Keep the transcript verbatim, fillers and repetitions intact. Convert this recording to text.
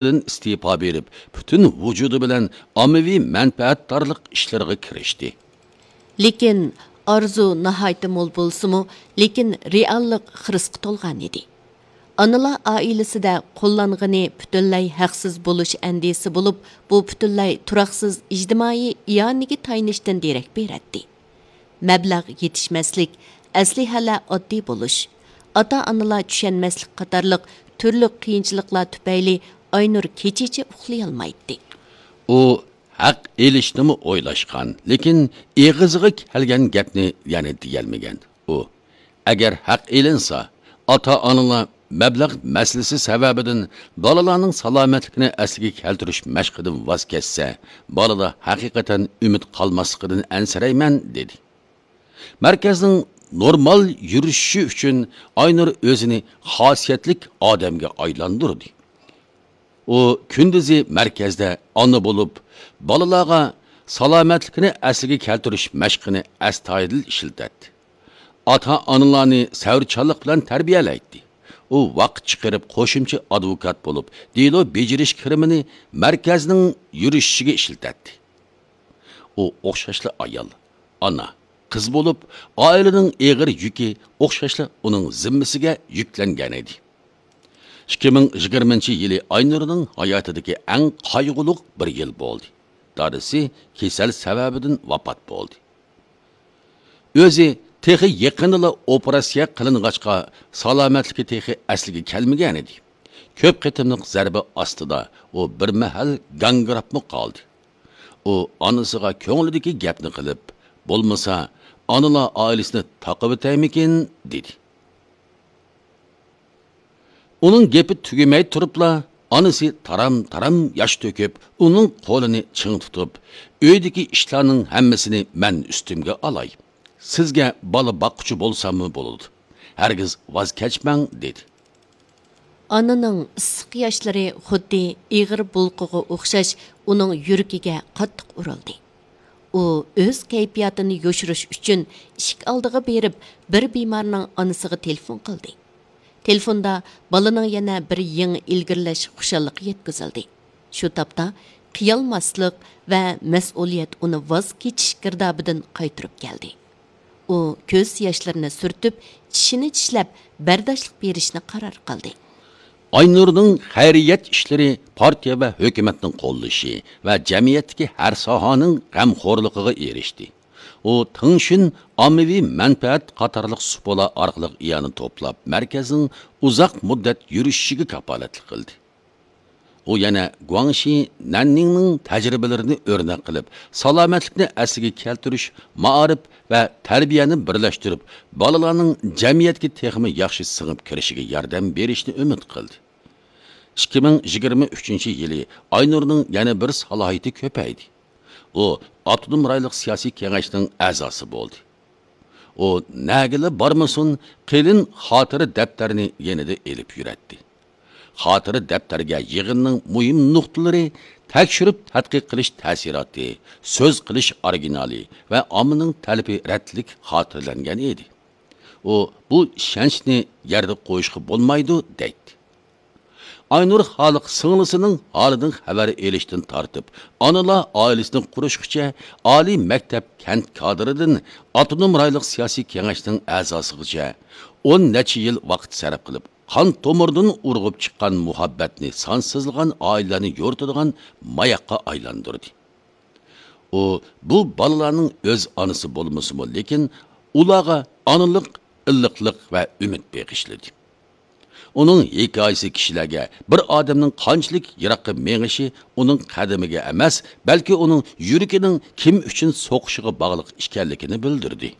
ئىستېپا بېرىپ، پۈتۈن ۋۇجۇدى بىلەن ئاممىۋى مەنپەئەتدارلىق ئىشلىرىغا كىرىشتى. لېكىن ئارزۇ ناھايىتى مول بولسىمۇ، لېكىن رېئاللىق خىرىسقا تولغان ئىدى. ئانىلار ئائىلىسىدە قوللانغىنى پۈتۈنلەي ھەقسىز بولۇش ئەندىزىسى بولۇپ، بۇ پۈتۈنلەي تۇراقسىز ئىجتىمائىي ئىئانىگە تايىنىشتىن دېرەك بېرەتتى. مەبلەغ يېتىشمەسلىك، ئەسلىھەلەر ئاددىي بولۇش، ئاتا-ئانىلار چۈشەنمەسلىك قاتارلىق تۈرلۈك قىيىنچىلىقلار تۈپەيلى ئاينۇر كېچىچە ئۇخلىيالمايتتى. ئۇ ھەق ئېلىشنىمۇ ئويلاشقان، لېكىن ئېغىزىغا كەلگەن گەپنى يەنە دېيەلمىگەن. ئۇ، ئەگەر ھەق ئېلىنسا، ئاتا-ئانىلار مەبلەغ مەسىلىسى سەۋەبىدىن بالىلارنىڭ سالامەتلىكىنى ئەسلىگە كەلتۈرۈش مەشقىدىن ۋاز كەچسە، بالىدا ھەقىقەتەن ئۈمىد قالماسلىقىدىن ئەنسىرەيمەن، دېدى. مەركەزنىڭ نورمال يۈرۈشۈشى ئۈچۈن ئاينۇر ئۆزىنى خاسىيەتلىك ئادەمگە ئايلاندۇردى. ئۇ كۈندۈزى مەركەزدە ئانا بولۇپ، بالىلارغا سالامەتلىكىنى ئەسلىگە كەلتۈرۈش مەشقىنى ئەستايىدىل ئىشلىتەتتى. ئاتا-ئانىلارنى سەۋرچانلىق بىلەن تەربىيەلەيتتى. ئۇ ۋاقىت چىقىرىپ قوشۇمچە ئادۋوكات بولۇپ، دېلو بېجىرىش كىرىمىنى مەركەزنىڭ يۈرۈشۈشىگە ئىشلىتەتتى. ئۇ ئوخشاشلا ئايال، ئانا، قىز بولۇپ، ئائىلىنىڭ ئېغىر يۈكى ئوخشاشلا ئۇنىڭ زىممىسىگە يۈكلەنگەنىدى. ئىككى مىڭ يىگىرمىنچى يىلى ئاينۇرنىڭ ھاياتىدىكى ئەڭ قايغۇلۇق بىر يىل بولدى. دادىسى كېسەل سەۋەبىدىن ۋاپات بولدى. ئۆزى تېخى يېقىندىلا ئوپېراتسىيە قىلىنغاچقا، سالامەتلىكى تېخى ئەسلىگە كەلمىگەنىدى. كۆپ قېتىملىق زەربە ئاستىدا ئۇ بىر مەھەل گاڭگىراپمۇ قالدى. ئۇ ئانىسىغا كۆڭلىدىكى گەپنى قىلىپ، بولمىسا، ئانىلار ئائىلىسىنى تاقىۋېتەيمىكىن، دېدى. ئۇنىڭ گېپى تۈگىمەي تۇرۇپلا، ئانىسى تارام-تارام ياش تۆكۈپ، ئۇنىڭ قولىنى چىڭ تۇتۇپ، ئۆيدىكى ئىشلارنىڭ ھەممىسىنى مەن ئۈستۈمگە ئالاي. سىزگە بالا باققۇچى بولساممۇ بولىدۇ. ھەرگىز ۋاز كەچمەڭ، دېدى. ئانىنىڭ ئىسسىق ياشلىرى خۇددى ئېغىر بۇلقىغا ئوخشاش ئۇنىڭ يۈرىكىگە قاتتىق ئۇرۇلدى. ئۇ ئۆز كەيپىياتىنى يوشۇرۇش ئۈچۈن ئىشىك ئالدىغا بېرىپ، بىر بىمارنىڭ ئانىسىغا تېلېفون قىلدى. تېلېفوندا بالىنىڭ يەنە بىر يېڭى ئىلگىرىلەش خۇشاللىقى يەتكۈزۈلدى. شۇ تاپتا قىيالماسلىق ۋە مەسئۇلىيەت ئۇنى ۋاز كېچىش گىردابىدىن قايتۇرۇپ كەلدى. ئۇ كۆز ياشلىرىنى سۈرتۈپ، چىشىنى چىشلەپ، بەرداشلىق بېرىشنى قارار قىلدى. ئاينۇرنىڭ خەيرىيەت ئىشلىرى پارتىيە ۋە ھۆكۈمەتنىڭ قوللىشى ۋە جەمئىيەتتىكى ھەر ساھەنىڭ غەمخورلۇقىغا ئېرىشتى. ئۇ تىڭشۈن ئاممىۋى مەنپەئەت قاتارلىق سۇپىلار ئارقىلىق ئىئانە توپلاپ، مەركەزنىڭ ئۇزاق مۇددەت يۈرۈشۈشىگە كاپالەتلىك قىلدى. ئۇ يەنە گۇاڭشى نەننىڭنىڭ تەجرىبىلىرىنى ئۆرنەك قىلىپ، سالامەتلىكنى ئەسلىگە كەلتۈرۈش، مائارىپ ۋە تەربىيەنى بىرلەشتۈرۈپ، بالىلارنىڭ جەمئىيەتكە تېخىمۇ ياخشى سىڭىپ كىرىشىگە ياردەم بېرىشنى ئۈمىد قىلدى. ئىككى مىڭ يىگىرمە ئۈچىنچى يىلى ئاينۇرنىڭ يەنە بىر سالاھىيىتى كۆپەيدى. ئۇ ئاپتونوم رايونلۇق سىياسىي كېڭەشنىڭ ئەزاسى بولدى. ئۇ نەگىلا بارمىسۇن، قېلىن خاتىرە دەپتەرنى يېنىدا ئېلىپ يۈرەتتى. خاتىرە دەپتەرگە يىغىننىڭ مۇھىم نۇقتىلىرى، تەكشۈرۈپ تەتقىق قىلىش تەسىراتى، سۆز قىلىش ئورىگىنالى ۋە ئاممىنىڭ تەلىپى رەتلىك خاتىرىلەنگەن ئىدى. ئۇ بۇ ئىشەنچنى يەردە قويۇشقا بولمايدۇ، دەيتتى. ئاينۇر خالىق سىڭلىسىنىڭ ھالىدىن خەۋەر ئېلىشتىن تارتىپ، ئانىلار ئائىلىسىنى قۇرۇشقىچە، ئالىي مەكتەپ كەنت كادىرىدىن ئاپتونوم رايونلۇق سىياسىي كېڭەشنىڭ ئەزاسىغىچە ئون نەچچە يىل ۋاقىت سەرپ قىلىپ، قان تومۇردىن ئۇرغۇپ چىققان مۇھەببەتنى سانسىزلىغان ئائىلىلەرنى يورۇتىدىغان ماياققا ئايلاندۇردى. ئۇ بۇ بالىلارنىڭ ئۆز ئانىسى بولمىسىمۇ، لېكىن ئۇلارغا ئانىلىق، ئىللىقلىق ۋە ئۈمىد بېغىشلىدى. ئۇنىڭ ھېكايىسى كىشىلەرگە بىر ئادەمنىڭ قانچىلىك يىراققا مېڭىشى ئۇنىڭ قەدىمىگە ئەمەس، بەلكى ئۇنىڭ يۈرىكىنىڭ كىم ئۈچۈن سوقۇشىغا باغلىق ئىكەنلىكىنى بىلدۈردى.